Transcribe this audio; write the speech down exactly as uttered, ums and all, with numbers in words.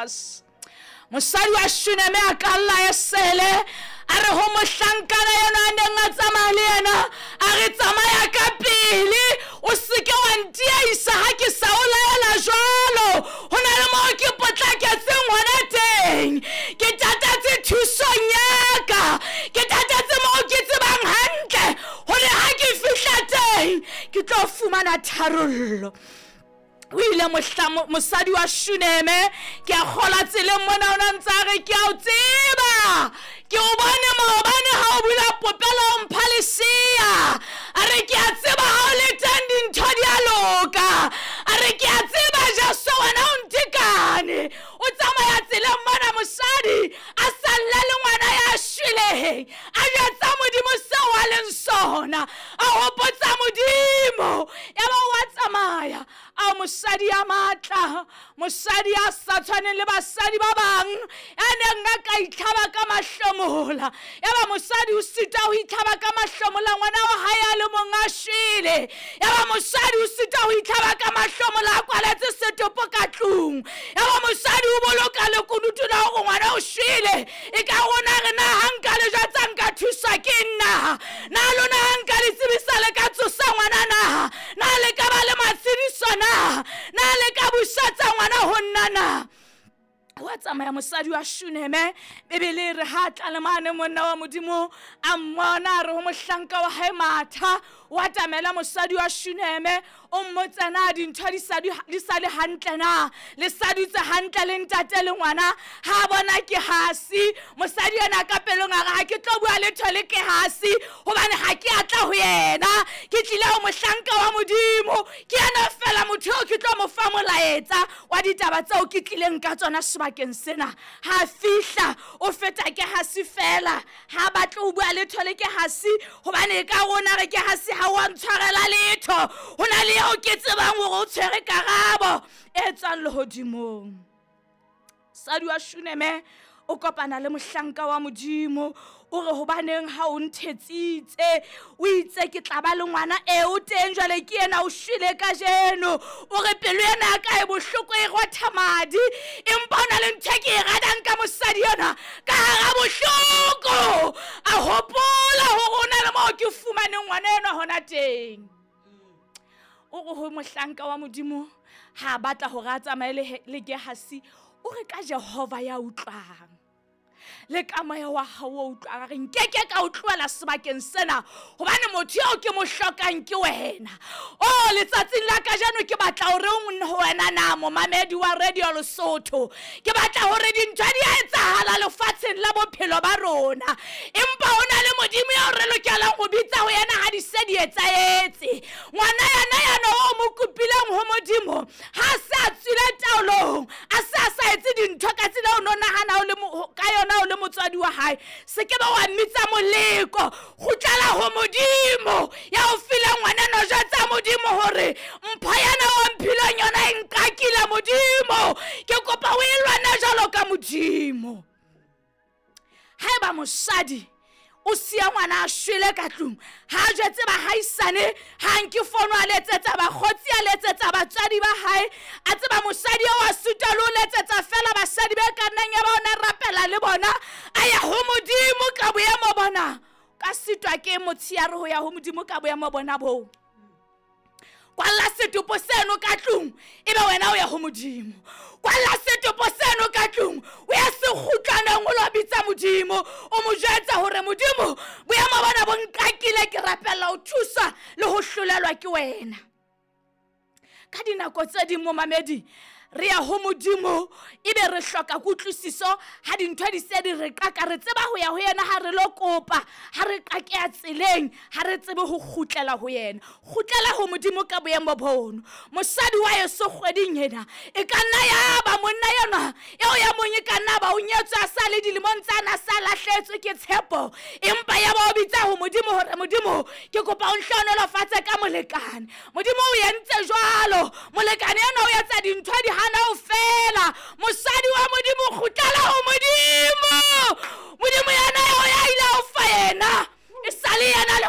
Jesus. Mosadi wa Shuneme a kalla esele, a re ho mohlankana yena a neng a tsamaya le yena, a re tsamaya ka pele, o seke wa ntiaisa ha ke sa o laela jwalo. Ho na le moo ke potlaketseng hona teng, ke tatetse thusong ya ka, ke tatetse moo ke tsebang hantle hore ha ke fihla teng ke tlo fumana tharollo. O ile mohla mosadi wa Shuneme, ke a kgola tseleng mona, o na ntse a re ke a o tseba, ke o bone maobane ha o bula popelo o mpha lesea. A re ke a tseba ha o le teng dintho di a loka. A re ke a tseba Jesu wena o ntekane. O tsamaya tseleng mona mosadi a salla le ngwana ya shweleng, a jwetsa Modimo seo a leng sona, a hopotsa Modimo. Yaba wa tsamaya. A mosadi ya matla, mosadi ya sa tshwaneng le basadi ba bang, ya neng a ka itlhaba ka mahlomola. Yaba mosadi o sita ho itlhaba ka mahlomola, ngwana wa hae a le mong a shwele. Yaba mosadi o sita ho itlhaba ka mahlomola, a kwaletse setopo ka tlung. Yaba mosadi o boloka lekunutu la hore ngwana o shwele. E ka rona re na ha nka le jwetsa nka thuswa ke nna? Na lona ha nka le tsebisa le ka tsosa ngwana na? Na le ka ba le matshediso na? Na le ka busetsa ngwana ho nna na? Wa tsamaya mosadi wa Shuneme. Bibele e re ha tla le mane monna wa Modimo a mmona, a re ho mohlanka wa hae matha, wa tamela mosadi wa Shuneme, o mmotsa na dintho di sa di sa le hantle na, le sa dutse hantle le ntate le ngwana. Ha bona ke hasi mosadi yena ka pelong a re ha ke tlo bua letho le ke hasi, hobane ha ke atla ho yena, ke tlile ho mohlanka wa Modimo, ke yena fela motho eo ke tlo mo fa molaetsa wa ditaba tseo ke tlileng ka tsona sebakeng sena. Ha fihla o feta ke hasi fela, ha batle ho bua letho le ke hasi, hobane ka rona re ke hasi ha wa ntshwarela letho. Ho na le eo ke tsebang hore o tshwere karabo e tswang lehodimong. Mosadi wa Shuneme o kopana le mohlanka wa Modimo, o re hobaneng ha o nthetsitse, o itse ke tla ba le ngwana e o teng jwale ke yena o shwele kajeno. O re pelo ena ya ka e bohloko e rotha madi, empa ho na le ntho e ke e ratang ka mosadi yona ka hara bohloko. A hopola hore ho na le moo ke fumaneng ngwana enwa hona teng. O re ho mohlanka wa Modimo ha batla hore a tsamaye le le Gehasi, o re ka Jehova ya utlwang le ka moya wa hao o utlwang, a re nkeke ka o tlohela sebakeng sena, hobane motho eo ke mo hlokang ke wena. Oh, letsatsing la kajeno ke batla hore ho wena na momamedi wa Radio Lesotho, ke batla hore dintho di a etsahala lefatsheng la bophelo ba rona, empa ho na le Modimo eo re lokelang ho bitsa ho yena ha di se di etsahetse. Ngwana yena yana o mo kopileng ho Modimo ha se a tswile taolong, a se a sa etse dintho ka tsela o no nahana o le ka yona o le motswadi wa hae, se ke ba wa mmitsa moleko. Kgutlela ho Modimo ya o fileng ngwana no, jwetsa Modimo hore mpho yana o mphileng yona e nkakile Modimo, ke kopa o e lwane jwalo ka Modimo. Haeba mosadi o siya ngwana a shwele ka tlung, ha a jwetse bahaisane, ha nke fono a letsetsa bakgotsi, a letsetsa batswadi ba hae, a tseba mosadi eo a sutwa le ho letsetsa fela basadi be ka nnang ya ba ona rapela le bona, a ya ho Modimo ka boemo bona. Ka sitwa ke motsheare ho ya ho Modimo ka boemo bona boo. Kwalla setopo seno ka tlung, ebe wena o ya ho Modimo. Kwalla setopo seno ka tlung, o ya sekgutlwaneng o lo bitsa Modimo, o mo jwetsa hore Modimo boemo bona bo nkakile, ke rapella ho thuswa le ho hlolelwa ke wena. Ka dinako tse ding momamedi re ya ho Modimo ebe re hloka kutlwisiso ha dintho di se di re qaka, re tseba ho ya ho yena ha re lo kopa, ha re qakeha tseleng ha re tsebe ho kgutlela ho yena. Kgutlela ho Modimo ka boemo bono. Mosadi wa yeso kgweding ena e ka nna ya ba monna yena eo ya mong e ka nna ba o nyetswe a sa le dilemong tsa na sa lahletswe ke tshepo, empa ya ba o bitsa ho Modimo hore Modimo ke kopa o nhlohonolofatse ka molekane. Modimo o entse jwalo, molekane ena o etsa dintho di hana ho fela. Mosadi wa Modimo kgutlela ho Modimo. Modimo yena eo ya ile ho fa yena e sale yena le